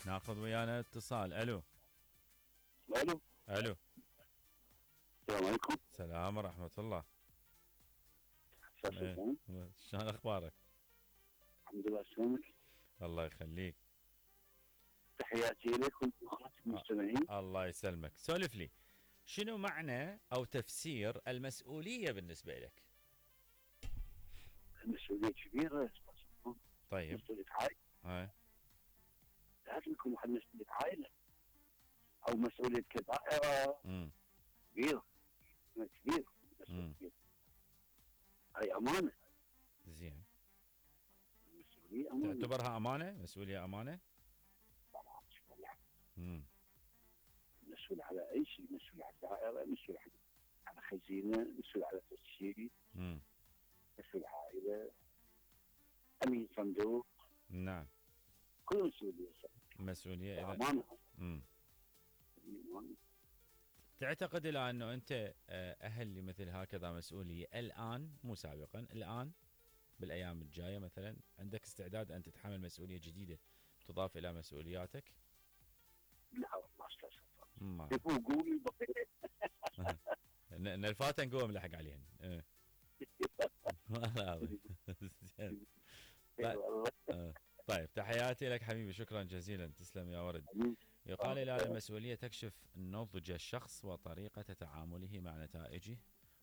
ناخذ ويانا اتصال. الو. الو. الو. السلام عليكم. السلام ورحمة الله. ايه. سلام. شلون اخبارك؟ الحمد لله. شلونك؟ الله يخليك. تحياتي لك ولأخواتك المستمعين. الله يسلمك. سولف لي، شنو معنى او تفسير المسؤولية بالنسبة لك؟ المسؤولية كبيرة. طيب. مسؤولية عائلة. هاي. لازم يكون واحد مسؤولية عائلة أو مسؤولية كدائرة كبيرة. كبير. مسؤولية. هاي أمانة. زين. المسؤولية أمانة. تعتبرها أمانة؟ مسؤولية أمانة؟ طبعا. مسؤول على أي شيء، مسؤول على الدائرة، مسؤول على خزينة، مسؤول على تسجيل، مسؤول عائلة، أمين صندوق. نعم. كل مسؤولية. مسؤولية إذا أمانة. تعتقد الآن أنه أنت أهل لمثل هكذا مسؤولية الآن مو سابقا، الآن بالأيام الجاية مثلا عندك استعداد أن تتحمل مسؤولية جديدة تضاف إلى مسؤولياتك؟ لا والله استاذ. ما قولي نلفات نقوم نلحق عليهن. طيب تحياتي لك حبيبي، شكرا جزيلا، تسلم يا ورد. يقال الآن المسؤولية تكشف نضج الشخص وطريقة تعامله مع نتائجه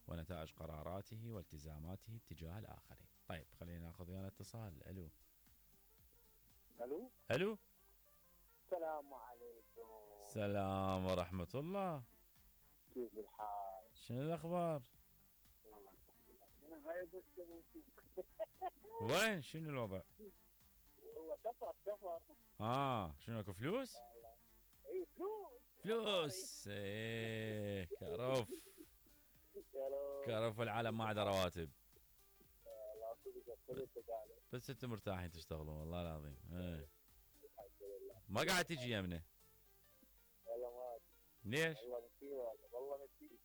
ونتائج قراراته والتزاماته تجاه الآخرين. طيب خلينا ناخذ ويانا اتصال. الو. الو. الو. السلام عليكم. السلام ورحمة الله. كيف الحال؟ شنو الأخبار؟ وين شنو الوضع؟ هو سفر. شنو اكو فلوس؟ اي فلوس. ايه كرف العالم ما عدا رواتب. بس انتم مرتاحين تشتغلون والله العظيم. ما قاعد تجي يمنا. والله ما ليش؟ والله نسيت.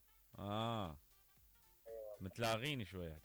متلاغين شوي